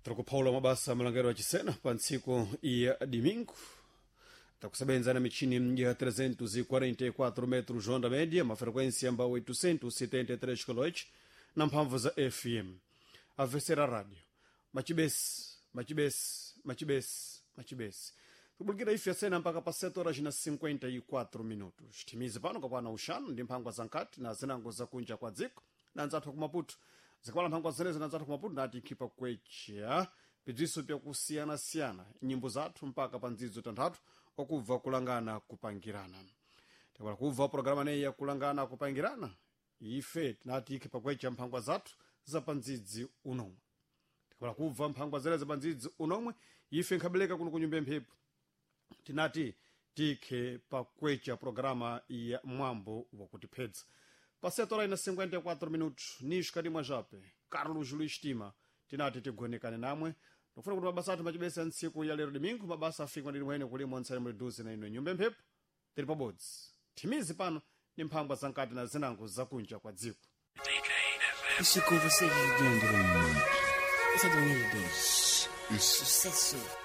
Tiri mabasa malangero ya chisena pa ntsiku ya domingo, takusebenza na michini ya 344 metros onda média, ma frequência amba 873 kHz na mphamvu za FM. Avesera rádio machibesi, machibesi, machibesi, machibesi, kubulikira ife asena mpaka pa 7 horas na 54 minutos. Timize pano kakwana uxanu ndi mphangwa za nkati na zinango zakunja kwa dziko na nzathu ku Maputo. Zikawala mphangwa zenezi na nzathu ku Maputo nati nkhipa kwecha bziso byakusiyanasiyana nyimbo zathu mpaka pa ndzidzo tanthatu okubva kulangana kupangirana. Takala kubva programa neyi yakulangana kupangirana, ife tinati ikhe pakwecha mphangwa zathu za pandzidzi unomwe. Tikapala kubva mphangwa zere za pandzidzi unomwe, ife nkhabeleka kuno kunyumba mphepo tinati tikhe pakwecha programa ya mwambo wakutiphedza pa 7 horas na 54 minutos. Nicho kadimwa jape Carlos Luis Tima tinati tigonekane namwe, ndikufuna kuti mabasa athu machibesa ntsiku ya lero domingo mabasa afika ndili mwene kulimo ntsale muli duze na ino nyumba mphepo tili pabodzi. Thimizi pano ni mphangwa zankati na zinango zakunja kwa dziko. Isso com vocês, Leandro. Isso é do Deus. Sucesso.